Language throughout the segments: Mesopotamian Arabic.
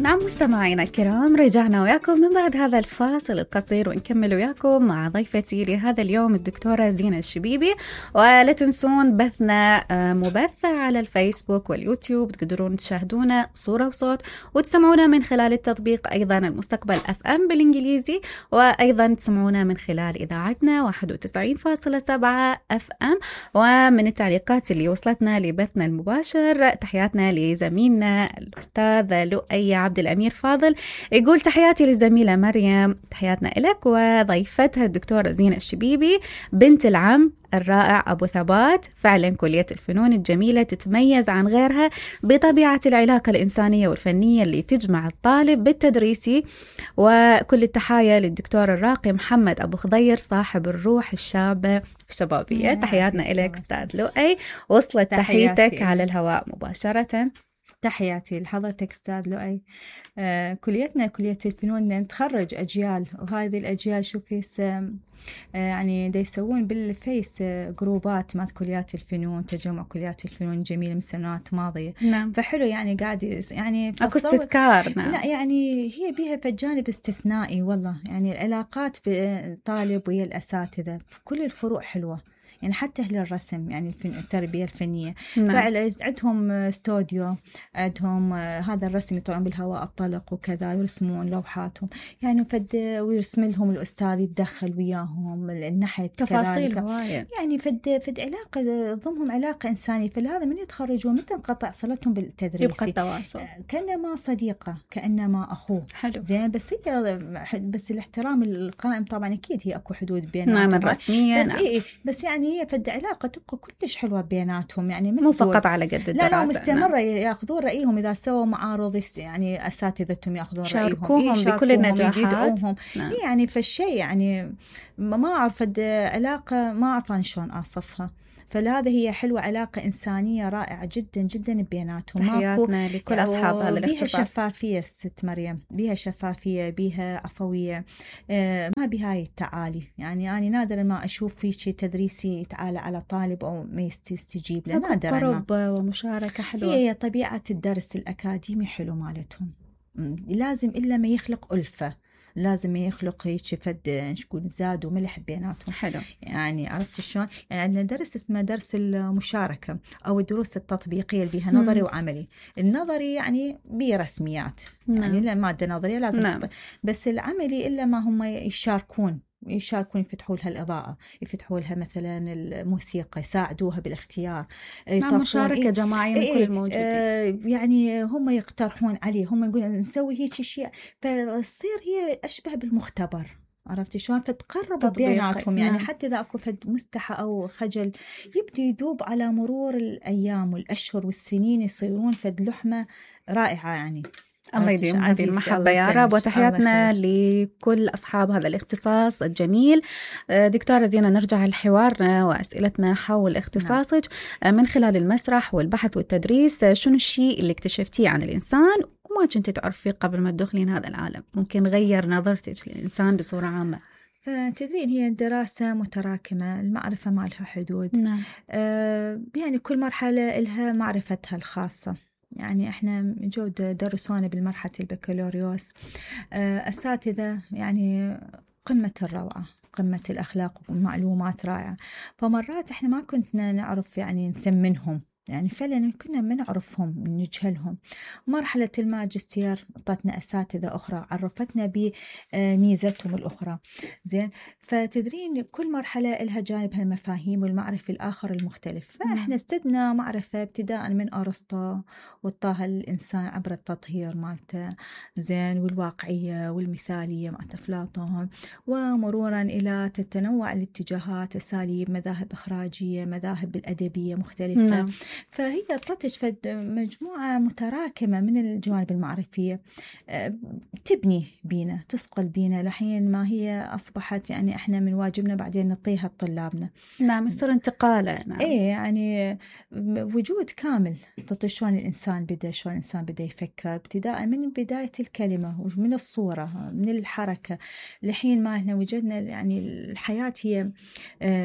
نعم مستمعينا الكرام، رجعنا وياكم من بعد هذا الفاصل القصير ونكمل وياكم مع ضيفتي لهذا اليوم الدكتورة زينة الشبيبي. ولا تنسون بثنا مبث على الفيسبوك واليوتيوب، تقدرون تشاهدونا صورة وصوت وتسمعونا من خلال التطبيق أيضا المستقبل FM بالإنجليزي، وأيضا تسمعونا من خلال إذاعتنا 91.7 FM. ومن التعليقات اللي وصلتنا لبثنا المباشر تحياتنا لزميلنا الأستاذ لؤي عبد الأمير فاضل، يقول تحياتي للزميلة مريم، تحياتنا لك وضيفتها الدكتورة زينة الشبيبي بنت العم الرائع أبو ثبات. فعلا كلية الفنون الجميلة تتميز عن غيرها بطبيعة العلاقة الإنسانية والفنية اللي تجمع الطالب بالتدريسي. وكل التحايا للدكتور الراقي محمد أبو خضير صاحب الروح الشابة الشبابية. تحياتنا لك أستاذ لؤي، وصلت تحياتك على الهواء مباشرة. تحياتي لحضرتك أستاذ لؤي. كليتنا كلية الفنون نتخرج أجيال، وهذه الأجيال شوفي يعني دا يسوون بالفيس جروبات مات كليات الفنون، تجمع كليات الفنون الجميلة من سنوات ماضية. نعم. فحلو يعني قاعد يعني أكو استذكار. نعم. لا يعني هي بيها فجانب استثنائي والله، يعني العلاقات بالطالب ويا الأساتذة كل الفروع حلوة، يعني حتى أهل الرسم يعني التربية الفنية. نعم. فعلا عندهم استوديو، عندهم هذا الرسم يطلعون بالهواء الطلق وكذا، يرسمون لوحاتهم يعني ويرسم لهم الأستاذ، يتدخل وياهم النحت تفاصيل هواية، يعني فد علاقة ضمهم علاقة إنسانية. فلهذا من يتخرجون متى انقطع صلتهم بالتدريس، يبقى التواصل كأنما صديقة كأنما أخوه. حلو. زين بس الاحترام القائم طبعا أكيد هي أكو حدود بيناتهم. نعم الرسمية. بس نعم. بس يعني هي فد علاقة تبقى كلش حلوة بيناتهم، يعني مو فقط على قد الدراسة. لا مستمرة. نعم. يأخذون رأيهم إذا سووا معارض، يعني أساتذتهم يأخذون رأيهم، يشاركوهم بكل النجاحات. يدعوهم. نعم. يعني فالشيء يعني ما أعرف علاقة ما أعرف أنا شلون أصفها. فلهذا هي حلوة، علاقة إنسانية رائعة جدا جدا بيناتهم. تحياتنا لكل أصحاب هذا الاختصاص. بيها شفافية ست مريم، بيها شفافية، بيها عفوية، ما بها هاي التعالي. يعني أنا نادرا ما أشوف في شيء تدريسي يتعالى على طالب أو ما يستجيب له، نادرا ما. قرب ومشاركة حلوة. هي طبيعة الدرس الأكاديمي حلو مالتهم، لازم إلا ما يخلق ألفة، لازم يخلق هيك فد نقول زاد وملح بيناتهم. حلو. يعني عرفت شلون؟ يعني عندنا درس اسمه درس المشاركة أو الدروس التطبيقية اللي بيها نظري وعملي. النظري يعني بيه رسميات، يعني لا مادة نظرية لازم. نعم. بس العملي إلا ما هم يشاركون يفتحوا لها الإضاءة، يفتحوا لها مثلا الموسيقى، يساعدوها بالاختيار. نعم مشاركة جماعية من كل الموجودين. يعني هم يقترحون عليه، هم يقولون نسوي هيك شيء، فتصير هي أشبه بالمختبر. عرفتي شلون؟ فتقرب بيناتهم. يعني نعم. حتى إذا أكو فد مستحى أو خجل يبدو يذوب على مرور الأيام والأشهر والسنين، يصيرون فد لحمة رائعة. يعني الله يديم هذه المحبة يا رب. وتحياتنا لكل أصحاب هذا الاختصاص الجميل. دكتورة زينة، نرجع لحوارنا وأسئلتنا حول اختصاصك. نعم. من خلال المسرح والبحث والتدريس، شنو الشيء اللي اكتشفتيه عن الإنسان وما كنت تعرفيه قبل ما تدخلين هذا العالم، ممكن غير نظرتك للإنسان بصورة عامة؟ تدرين هي الدراسة متراكمة، المعرفة ما لها حدود. نعم. يعني كل مرحلة لها معرفتها الخاصة. يعني احنا جو درسونا بالمرحلة البكالوريوس أساتذة يعني قمة الروعة، قمة الأخلاق ومعلومات رائعة. فمرات احنا ما كنا نعرف يعني نثمنهم، يعني فعلا كنا ما نعرفهم نجهلهم. مرحلة الماجستير أعطتنا أساتذة أخرى عرفتنا بميزتهم الأخرى. زين. فتدرين كل مرحلة لها جانبها المفاهيم والمعرفة الآخر المختلف. فإحنا استدنا معرفة ابتداء من أرسطو وطاها الإنسان عبر التطهير مالته، زين، والواقعية والمثالية مالت أفلاطون، ومرورا إلى تتنوع الاتجاهات، أساليب، مذاهب إخراجية، مذاهب الأدبية مختلفة. نعم. فهي تطلع مجموعة متراكمة من الجوانب المعرفية تبني بينا، تسقل بينا لحين ما هي أصبحت يعني إحنا من واجبنا بعدين نعطيها لطلابنا. نعم يصير انتقاله. نعم. إيه يعني وجود كامل. شلون الإنسان بدأ يفكر ابتداء من بداية الكلمة ومن الصورة من الحركة لحين ما إحنا وجدنا. يعني الحياة هي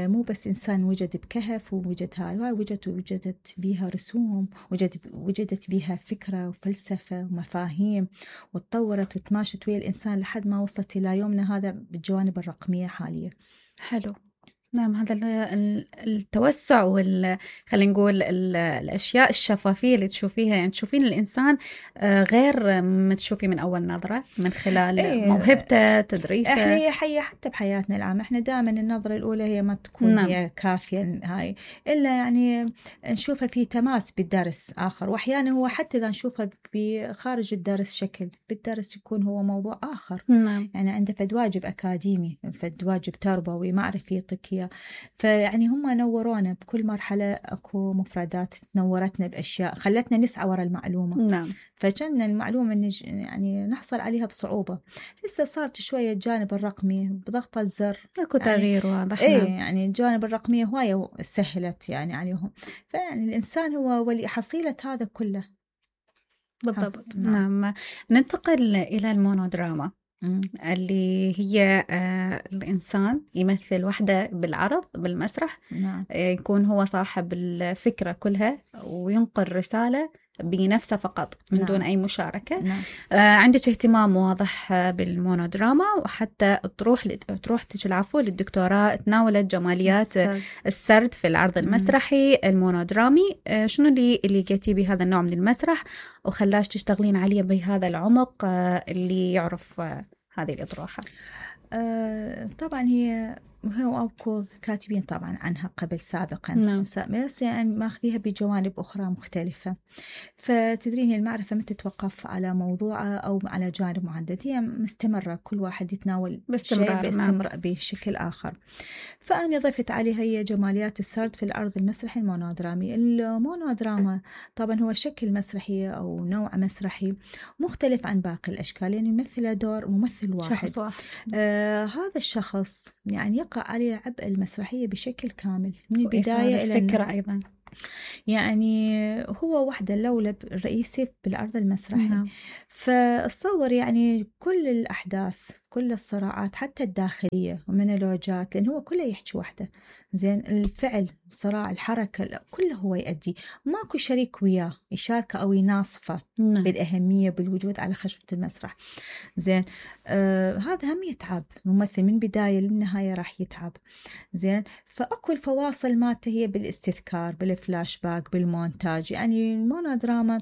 مو بس إنسان وجد بكهف ووجد هاي وجدت بيها رسوم، وجدت بيها فكرة وفلسفة ومفاهيم، وتطورت وتماشت ويا الإنسان لحد ما وصلت إلى يومنا هذا بالجوانب الرقمية حاليا. حلو. نعم، هذا التوسع خلينا نقول الأشياء الشفافية اللي تشوفيها، يعني تشوفين الإنسان غير ما تشوفيه من أول نظرة من خلال موهبته، تدريسه. إحنا حتى بحياتنا العامة إحنا دائما النظرة الأولى هي ما تكون نعم. هي كافية هاي، إلا يعني نشوفها في تماس بالدرس آخر، وأحيانا هو حتى إذا نشوفها بخارج الدرس شكل بالدرس يكون هو موضوع آخر. نعم. يعني عنده فد واجب أكاديمي، فد واجب تربوي، معرفي يعطيك. فيعني هم نورونا بكل مرحلة، أكو مفردات نورتنا بأشياء خلتنا نسعى وراء المعلومة. نعم. فكنا المعلومة يعني نحصل عليها بصعوبة. هسه صارت شوية الجانب الرقمي بضغطة زر أكو تغيير واضح. يعني الجانب الرقمية هواية سهلت يعني عليهم. فيعني الإنسان هو ولي حصيلة هذا كله. بالضبط. نعم. ننتقل إلى المونودراما اللي هي الإنسان يمثل وحده بالعرض بالمسرح. نعم. يكون هو صاحب الفكرة كلها وينقل رسالة بنفسه فقط من دون أي مشاركة. نعم. عندك اهتمام واضح بالمونودراما، وحتى تروح العفو للدكتوراه تناولت جماليات السرد في العرض المسرحي المونودرامي. شنو اللي لقيتي بهذا النوع من المسرح وخلاش تشتغلين عليه بهذا العمق اللي يعرف هذه الأطروحة؟ طبعا هو أكو كاتبين طبعا عنها قبل سابقا. نعم. بس يعني ماخذيها بجوانب أخرى مختلفة. فتدرين المعرفة ما تتوقف على موضوع أو على جانب محدد، هي مستمرة، كل واحد يتناول شيء بشكل آخر. فأنا ضفت عليها هي جماليات السرد في العرض المسرحي المونودرامي. المونودراما طبعا هو شكل مسرحي أو نوع مسرحي مختلف عن باقي الأشكال، يعني يمثل دور ممثل واحد. شخص واحد. هذا الشخص يعني يقع عليه عبء المسرحية بشكل كامل من البداية إلى الفكرة أيضا. يعني هو وحده اللولب الرئيسي بالعرض المسرحي. نعم. فاتصور يعني كل الأحداث، كل الصراعات حتى الداخلية ومونولوجات، لأن هو كله يحكي وحده. زين، الفعل، الصراع، الحركة، كله هو يؤدي، ماكو شريك وياه يشاركه أو يناصفه. نعم. بالأهمية بالوجود على خشبة المسرح. زين، هذا هم يتعب ممثل من بداية للنهاية راح يتعب. زين، فأكو الفواصل مالته هي بالاستذكار، بالفلاش باك، بالمونتاج. يعني المونودراما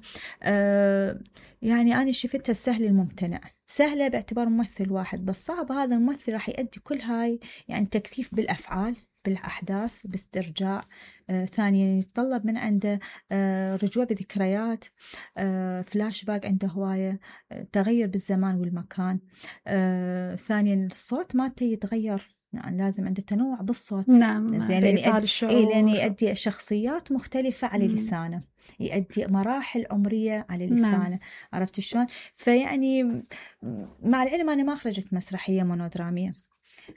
يعني أنا شفتها السهل الممتنع. سهلة باعتبار ممثل واحد، بس صعب هذا الممثل راح يؤدي كل هاي، يعني تكثيف بالأفعال، بالأحداث، باسترجاع. ثانيا يتطلب من عنده رجوع بذكريات، فلاش باك عنده هواية، تغير بالزمان والمكان. ثانيا الصوت مالته يتغير، يعني لازم عنده تنوع بالصوت. نعم. زين، لأن يؤدي شخصيات مختلفة على لسانه، يؤدي مراحل عمرية على لسانه. نعم. عرفت شلون؟ فيعني مع العلم أنا ما خرجت مسرحية مونودرامية،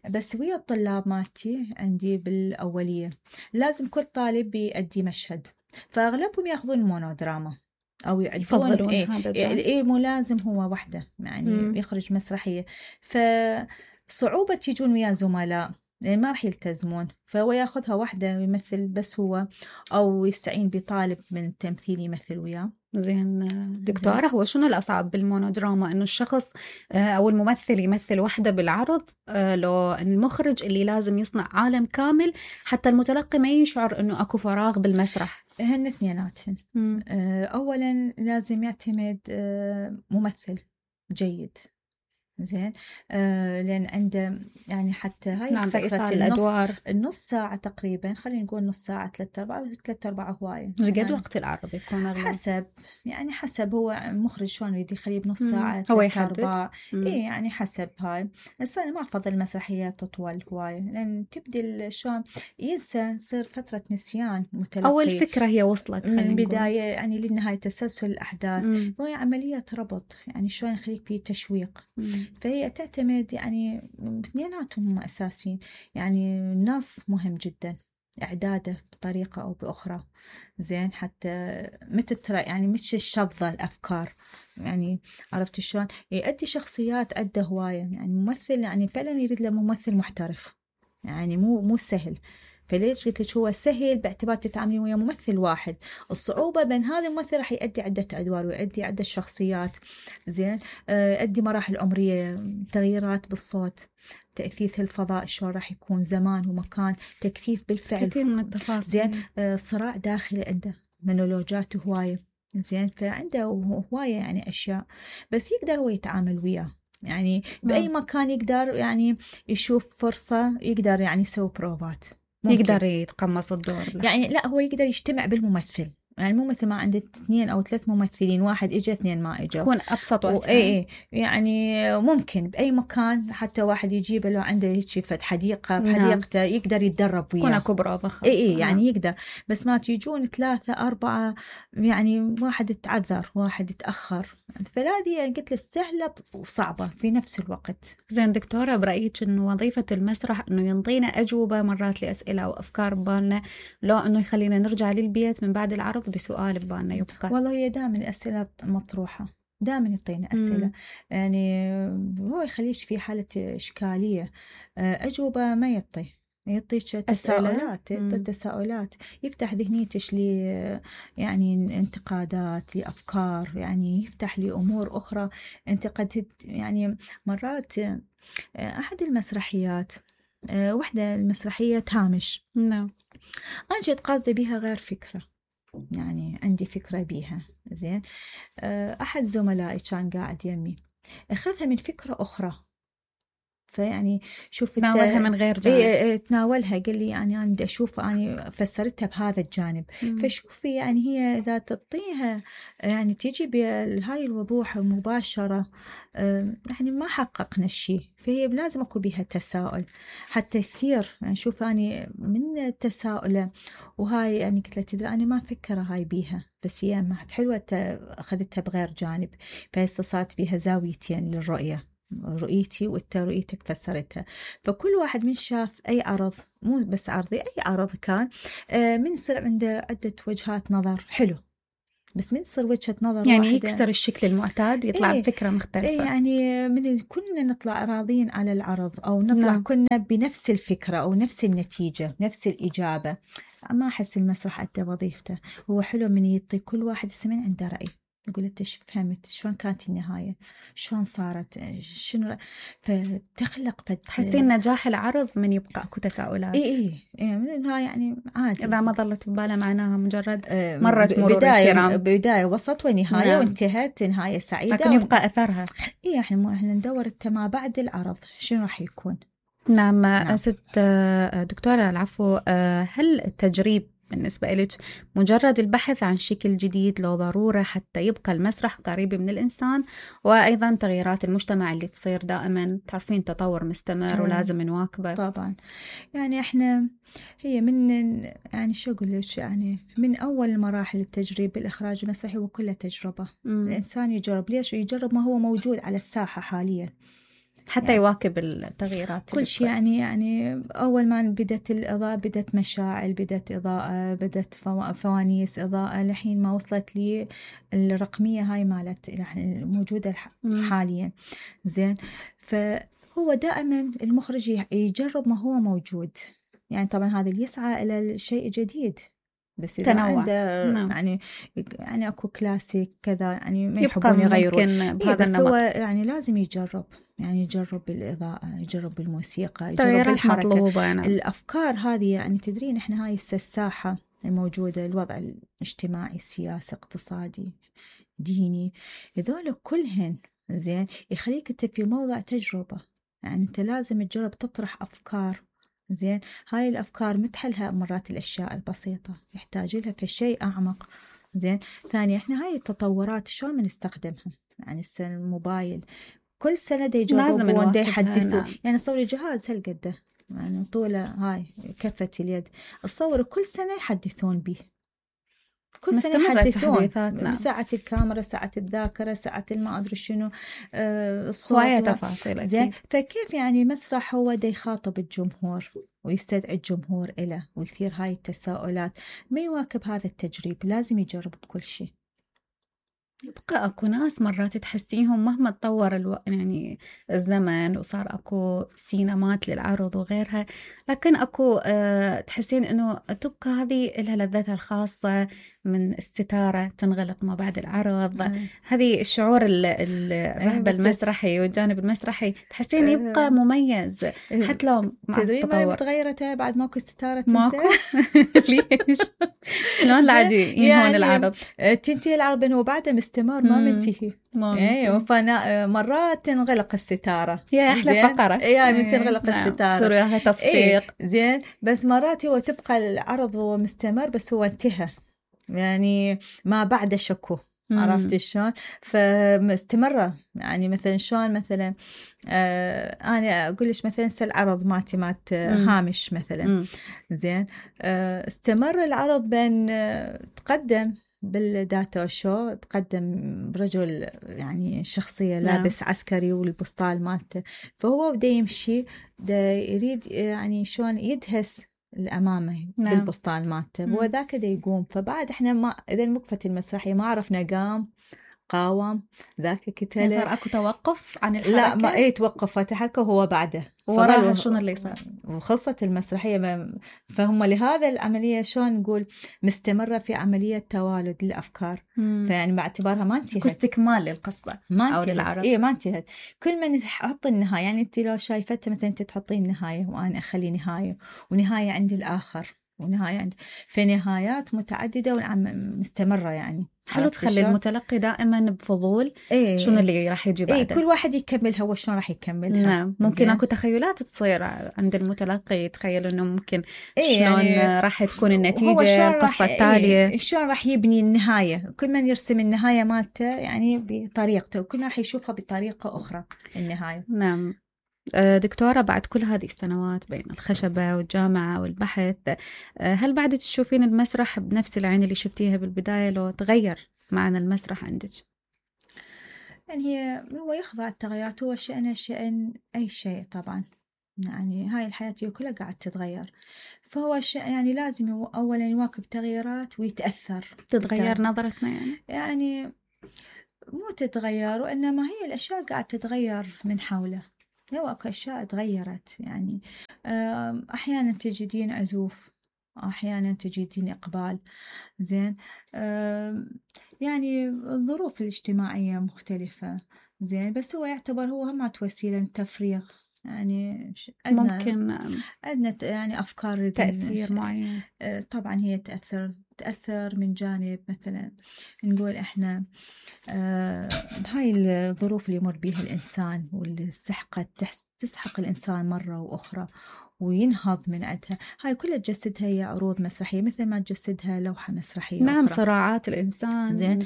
بس ويا الطلاب مالتي عندي بالأولية لازم كل طالب يؤدي مشهد، فأغلبهم يأخذون المونودراما أو يفضلون مو لازم هو وحده يعني يخرج مسرحية. فصعوبة يجون ويا زملاء يعني ما راح يلتزمون، فهو ياخذها وحده ويمثل بس هو، أو يستعين بطالب من التمثيل يمثل وياه. زين دكتورة، هو شنو الأصعب بالمونودراما؟ إنه الشخص أو الممثل يمثل وحده بالعرض، لو المخرج اللي لازم يصنع عالم كامل حتى المتلقي ما يشعر إنه أكو فراغ بالمسرح؟ هن اثنيناتهم. أولا لازم يعتمد ممثل جيد. زين، لأن عنده يعني حتى هاي نعم فكرة الأدوار النص ساعة تقريبا، خلينا نقول نص ساعة 3/4 هواية. قد يعني وقت العرض يكون أغلب حسب هو المخرج شلون يريد يخليه بنص ساعة هو يحدد. إيه يعني حسب هاي. بس أنا ما أفضل المسرحيات تطول هواية، لأن تبدي شلون ينسى، يصير فترة نسيان متلقي. أول فكرة هي وصلت من البداية يعني للنهاية، تسلسل الأحداث. وهي عملية ربط، يعني شلون يخليك في تشويق. فهي تعتمد يعني اثنيناتهم أساسيين. يعني النص مهم جدا، إعداده بطريقة أو بأخرى. زين، حتى يعني مش الشظة الأفكار. يعني عرفت شلون يؤدي شخصيات عدة هواية. يعني ممثل يعني فعلا يريد له ممثل محترف، يعني مو سهل. فليش قلت لك هو سهل باعتبار تتعاملين ويا ممثل واحد. الصعوبة بين هذا الممثل راح يؤدي عدة أدوار ويؤدي عدة شخصيات، زين، يؤدي مراحل عمرية، تغييرات بالصوت، تأثيث الفضاء شلون راح يكون، زمان ومكان، تكثيف بالفعل، كثير من التفاصيل. زين، صراع داخلي عنده، مونولوجات هواية، زين، فعنده هواية يعني أشياء، بس يقدر هو يتعامل وياه يعني بأي مكان، يقدر يعني يشوف فرصة، يقدر يعني يسوي بروفات، يقدر يتقمص الدور يعني لا هو يقدر يجتمع بالممثل، يعني مو مثل ما عنده 2 أو 3 ممثلين، واحد إجا 2 ما إجا، تكون أبسط وأسهل. إيه يعني ممكن بأي مكان، حتى واحد يجيب لو عنده هيك فد حديقة بحديقته يقدر يتدرب وياه، تكون أكو بروفة خاصة. إيه يعني يقدر، بس ما تيجون 3 4 يعني واحد يتعذر واحد يتأخر، فهذه قلت له سهلة وصعبة في نفس الوقت. زين دكتورة، برأيك إنه وظيفة المسرح إنه ينطينا أجوبة مرات لأسئلة أو أفكار ببالنا، لو إنه يخلينا نرجع للبيت من بعد العرض بسؤال ببالنا يبقى؟ والله هي دائما الأسئلة مطروحة، دائما يعطينا أسئلة، يعني هو يخليش في حالة إشكالية، أجوبة ما يعطيك تساؤلات، تساؤلات، يفتح ذهنيتش لي يعني انتقادات لأفكار، يعني يفتح لي أمور أخرى أنت قد يعني مرات. أحد المسرحيات، وحدة المسرحية هامش، نعم، أنا جيت قاصدة بيها غير فكرة، يعني عندي فكرة بيها، زين، أحد زملائي كان قاعد يمي أخذها من فكرة أخرى، فيعني شوف تناولها من غير جانب. تناولها، قال لي يعني أنا بدي أشوف، أنا فسرتها بهذا الجانب، فشوفي يعني هي إذا تعطيها يعني تيجي بهاي الوضوح المباشرة، يعني ما حققنا الشيء، فهي لازم أكو بها تساؤل حتى يثير، يعني شوف أنا من التساؤل وهاي يعني قلت له تدري أنا ما فكرة هاي بيها، بس هي ما حلوة أخذتها بغير جانب، فهسه صارت بها زاويتين للرؤية، رؤيتي وانت رؤيتك فسرتها. فكل واحد من شاف أي عرض، مو بس عرضي، أي عرض كان، من يصير عنده عدة وجهات نظر حلو، بس من يصير وجهة نظر يعني واحدة يكسر الشكل المعتاد ويطلع بفكرة مختلفة. يعني من كنا نطلع راضين على العرض، أو نطلع كنا بنفس الفكرة أو نفس النتيجة نفس الإجابة، ما أحس المسرح أدى وظيفته. هو حلو من يعطي كل واحد يسمع عنده رأي، يقول انت فهمت شلون كانت النهاية، شلون صارت، شنو، فتخلق تحسين نجاح العرض من يبقى اكو تساؤلات. اي من النهاية يعني عادي، اذا ما ظلت بباله معناها مجرد مرت مرور الكرام، بداية وسط ونهاية، وانتهت نهاية سعيدة، لكن يبقى اثرها. اي احنا ندور ما بعد العرض شنو راح يكون. نعم. ست دكتورة العفو، هل التجريب بالنسبة لك مجرد البحث عن شكل جديد لو ضرورة حتى يبقى المسرح قريب من الإنسان، وأيضا تغييرات المجتمع اللي تصير دائما، تعرفين تطور مستمر ولازم نواكبه؟ طبعا، يعني احنا هي من يعني شو أقول لك، يعني من أول مراحل التجريب بالإخراج المسرحي وكلها تجربة. الإنسان يجرب، ليش يجرب؟ ما هو موجود على الساحة حاليا حتى يعني يواكب التغييرات كل شيء. يعني أول ما بدت الإضاءة، بدت مشاعل، بدت إضاءة، بدت فوانيس إضاءة، لحين ما وصلت لي الرقمية هاي مالت موجودة حاليا، زين. فهو دائما المخرج يجرب ما هو موجود، يعني طبعا هذا اللي يسعى إلى الشيء الجديد، بس إذا عنده يعني أكو كلاسيك كذا، يعني ما يحبون يغيرون، بهذا بس هو يعني لازم يجرب، يعني يجرب بالإضاءة، يجرب بالموسيقى، يجرب بالحركة، مطلوبة. الأفكار هذه. يعني تدرين إحنا هاي الساحة الموجودة، الوضع الاجتماعي، السياسي، اقتصادي، ديني، هذول كلهن زين يخليك أنت في موضع تجربة، يعني أنت لازم تجرب تطرح أفكار، زين. هاي الأفكار متحلها مرات الأشياء البسيطة، يحتاج لها في شيء أعمق، زين. ثانيا إحنا هاي التطورات شلون بنستخدمها، يعني السنة الموبايل كل سنة دا يجربون، دا يحدثوا، يعني صوري جهاز هالقده، يعني طوله هاي كفة اليد، الصور كل سنة يحدثون به، كل سنة يحدثون، ساعة الكاميرا، ساعة الذاكرة، ساعة ما أدري شنو، الصوت، تفاصيل زين. فكيف يعني مسرح هو دا يخاطب الجمهور ويستدعي الجمهور إله ويثير هاي التساؤلات، ما يواكب هذا التجريب، لازم يجرب بكل شيء. يبقى اكو ناس مرات تحسيهم مهما تطور يعني الزمن وصار اكو سينمات للعرض وغيرها، لكن اكو تحسين انه تبقى هذه لها لذتها الخاصة من الستارة تنغلق ما بعد العرض. هذه الشعور الرهبة المسرحي والجانب المسرحي تحسين يبقى مميز حتى لو مع تدري ما التطور. تغيرت بعد ماكو ستارة ماكو. ليش؟ شلون لا عاد ينهون العرض؟ تنتهي العرض بينه وبعده مستمر ما منتهي. ايوه فانا مرات تنغلق الستاره، يا احلى فقره من تنغلق الستاره صار وياها تصفيق. زين بس مرات هو تبقى العرض هو مستمر بس هو انتهى، يعني ما بعده شكو. عرفت شلون؟ فمستمرة يعني مثلا شلون مثلا أنا أقول لك مثلا العرض مات هامش مثلا زين استمر العرض بين تقدم بالداتا شو، تقدم رجل يعني شخصية لابس عسكري والبسطال مالته، فهو بده يمشي يريد يعني شلون يدهس الأمامه بالبسطال مالته، هو ذاك دا يقوم. فبعد احنا ما اذا وقفت المسرحيه ما عرفنا قاوم ذاك كتله، صار اكو توقف عن الحركه. لا ما توقفت الحركه وهو بعده وراها شنو اللي صار وخلصت المسرحيه. فهم لهذا العمليه شلون نقول مستمره في عمليه توالد الافكار. فيعني باعتبارها ما انتهت، استكمال للقصه ما انتهت. ما انتهت. كل ما نحط النهايه، يعني انت لو شايفتها مثلا انت تحطين نهايه وانا اخلي نهايه ونهايه عند الاخر ونهايه عندي، في نهايات متعدده ومستمره. يعني حلو تخلي المتلقي دائما بفضول شنو اللي راح يجي بعده. كل واحد يكملها وشلون راح يكملها. نعم ممكن اكو تخيلات تصير عند المتلقي، يتخيل انه ممكن شلون يعني راح تكون النتيجه القصه التاليه، شلون راح يبني النهايه. كل من يرسم النهايه مالته يعني بطريقته، وكل من راح يشوفها بطريقه اخرى النهايه. نعم. دكتورة، بعد كل هذه السنوات بين الخشبة والجامعة والبحث، هل بعد تشوفين المسرح بنفس العين اللي شفتيها بالبداية لو تغير معنى المسرح عندك؟ يعني هو يخضع التغيرات، هو شأن أي شيء طبعا. يعني هاي الحياة كلها قاعد تتغير، فهو يعني لازم أولا يواكب تغييرات ويتأثر. تتغير نظرتنا يعني مو تتغير، وإنما هي الأشياء قاعد تتغير من حوله. هو أكو أشياء تغيرت، يعني أحيانا تجدين عزوف، أحيانا تجدين إقبال. زين يعني الظروف الاجتماعية مختلفة. زين بس هو يعتبر هو هم وسيلة تفريغ. يعني ممكن عندنا يعني أفكار تأثير معين. طبعا هي تأثر من جانب مثلا نقول إحنا بهاي الظروف اللي يمر بيها الإنسان واللي تسحق الإنسان مرة وأخرى وينهض من عندها، هاي كلها تجسدها هي عروض مسرحية مثل ما تجسدها لوحة مسرحية. نعم أخرى. صراعات الإنسان زين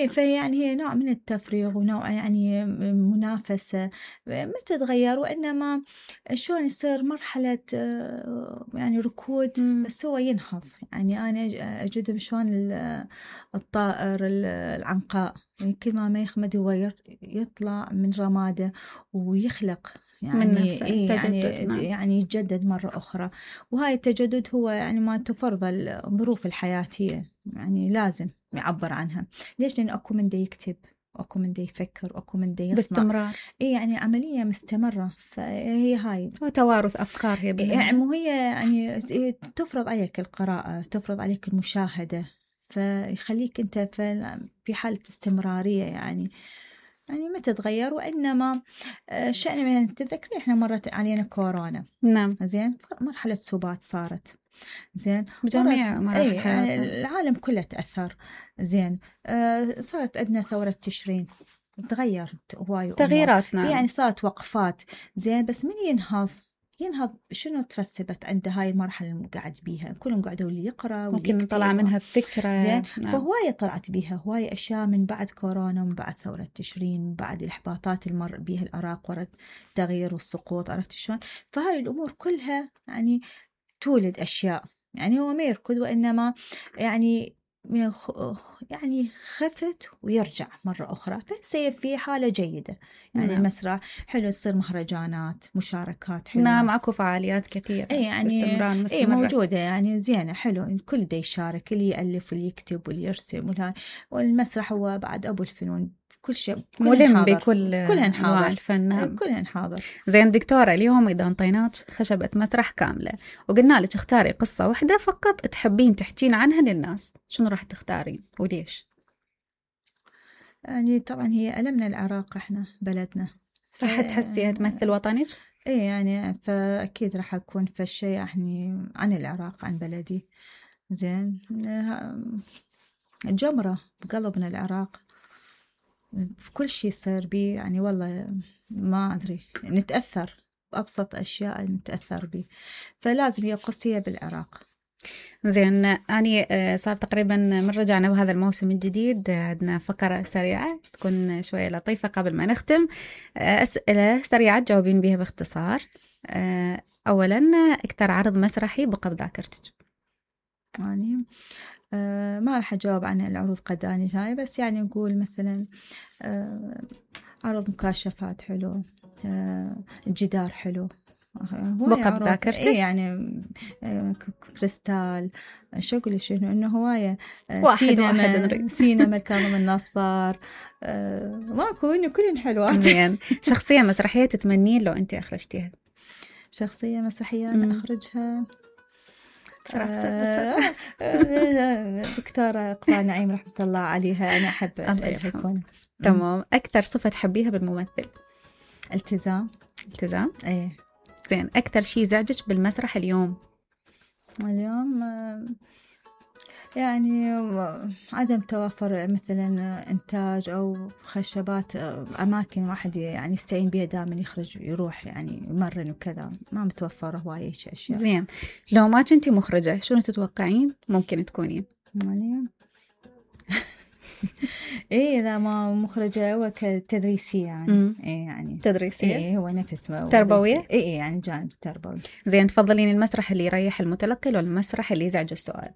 فيعني هي نوع من التفريغ ونوع يعني منافسة ما تتغير، وإنما شلون يصير مرحلة يعني ركود بس هو ينهض. يعني أنا أجد شلون الطائر العنقاء كل ما يخمد هو يطلع من رماده ويخلق يعني من نفسه يعني يتجدد مرة أخرى. وهاي التجدد هو يعني ما تفرض الظروف الحياتية، يعني لازم يعبر عنها. ليش؟ لأن أكو من دا يكتب، أكو من دا يفكر، أكو من دا يصنع باستمرار. يعني عملية مستمرة. فهي هاي وتوارث أفكار هي يعني وهي يعني تفرض عليك القراءة، تفرض عليك المشاهدة، فيخليك أنت في حالة استمرارية يعني ما تتغير. وإنما شأن مثلا تتذكري إحنا مرت علينا كورونا. نعم زين مرحلة سبات صارت. زين بجميع مراحل يعني العالم كله تأثر. زين صارت عندنا ثورة تشرين، تغيرت هواي تغييرات. نعم يعني صارت وقفات. زين بس من ينهض شنو ترسبت عنده هاي المرحلة اللي قاعد بيها، كلهم قاعدوا اللي يقرأ ممكن طلع منها فكرة. زين نعم. فهواية طلعت بيها هواية أشياء من بعد كورونا ومن بعد ثورة تشرين، من بعد الإحباطات اللي مر بيها العراق ورد تغيير والسقوط. عرفت شلون؟ فهاي الأمور كلها يعني تولد أشياء. يعني هو ما يركض، وإنما يعني يعني خفت ويرجع مرة أخرى، فيصير في حالة جيدة. يعني المسرح حلو، تصير مهرجانات، مشاركات حلوة. نعم، اكو فعاليات كثيرة يعني باستمرار مستمرة. موجودة، يعني زينة حلو، الكل دا يشارك، اللي يألف واللي يكتب واللي يرسم والمسرح هو بعد أبو الفنون، كل شيء ملم بكل أنواع الفن. نعم. كلهن حاضر. زين دكتورة، اليوم إذا انطيناك خشبة مسرح كاملة وقلنا لك اختاري قصة واحدة فقط تحبين تحكين عنها للناس، شنو راح تختارين وليش؟ يعني طبعا هي ألمنا العراق، احنا بلدنا، راح تحسيها تمثل وطنك؟ ايه يعني فأكيد راح أكون في الشيء يعني عن العراق، عن بلدي. زين، جمرة بقلبنا العراق، كل شيء يصير بي يعني والله ما أدري، نتأثر بأبسط أشياء نتأثر بي، فلازم هي قصية بالعراق. زين، أنا صار تقريبا من رجعنا بهذا الموسم الجديد عندنا فقرة سريعة تكون شوية لطيفة قبل ما نختم. أسئلة سريعة تجاوبين بيها باختصار. أولا، أكثر عرض مسرحي بقى بذاكرتك؟ يعني ما راح أجاوب عن العروض قداني هاي، بس يعني نقول مثلا عرض مكاشفات حلو، الجدار حلو، بقى بذاكرتك؟ إيه يعني كريستال، شو أقول شنو إنه هواية، سينما كاظم النصار، ماكو إنه كلن حلوات. زين، شخصية مسرحية تتمنين لو أنت أخرجتيها؟ شخصية مسرحية أنا أخرجها بصراحة دكتورة إقبال نعيم رحمة الله عليها، أنا أحب الحكومة. تمام. أكثر صفة تحبيها بالممثل؟ التزام. إيه. زين، أكثر شيء زعجك بالمسرح اليوم؟ يعني عدم توافر مثلا إنتاج أو خشبات، أماكن واحد يعني يستعين بها دائما يخرج يروح يعني يمرن وكذا، ما متوفرة هواية أشياء. زين، لو ما كنتي مخرجة شنو تتوقعين ممكن تكونين؟ إيه، إذا ما مخرجة هو كتدريسية يعني. إيه يعني تدريسية. إيه، هو نفس تربوية. إيه يعني جانب تربوي. زين، تفضلين المسرح اللي يريح المتلقي ولا المسرح اللي يزعج السؤال؟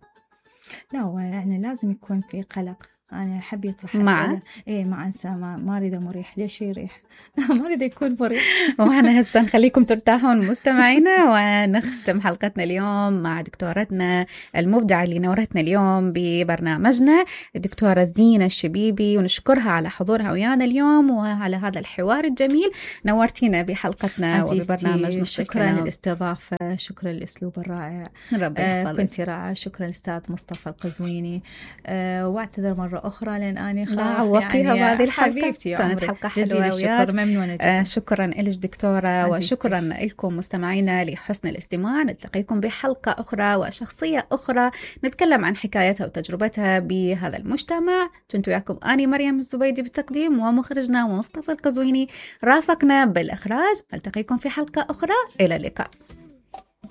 لا، هو يعني لازم يكون في قلق، أنا أحب يطرح أسئلة. إيه، مع إنسان ما أريده مريح، ليش يريح؟ ما أريده يكون مريح. وإحنا هسه نخليكم ترتاحون مستمعينا، ونختم حلقتنا اليوم مع دكتورتنا المبدعة اللي نورتنا اليوم ببرنامجنا، الدكتورة زينة الشبيبي، ونشكرها على حضورها ويانا اليوم وعلى هذا الحوار الجميل. نورتينا بحلقتنا وببرنامجنا. شكرا للاستضافة، شكرا للأسلوب الرائع، ربي يحفظك. كنت رائعة. شكرا للأستاذ مصطفى القزويني، واعتذر مرة أخرى لأن أنا خاف عوضتيها يعني بهذه الحلقة. حبيبتي كانت حلقة حلوة الشكر، ممنونة جدا. شكرا لك دكتورة عزيزتي. وشكرا لكم مستمعينا لحسن الاستماع. نلتقيكم بحلقة أخرى وشخصية أخرى نتكلم عن حكايتها وتجربتها بهذا المجتمع. كنت وياكم أنا مريم الزبيدي بالتقديم، ومخرجنا مصطفى القزويني رافقنا بالإخراج. نلتقيكم في حلقة أخرى، إلى اللقاء.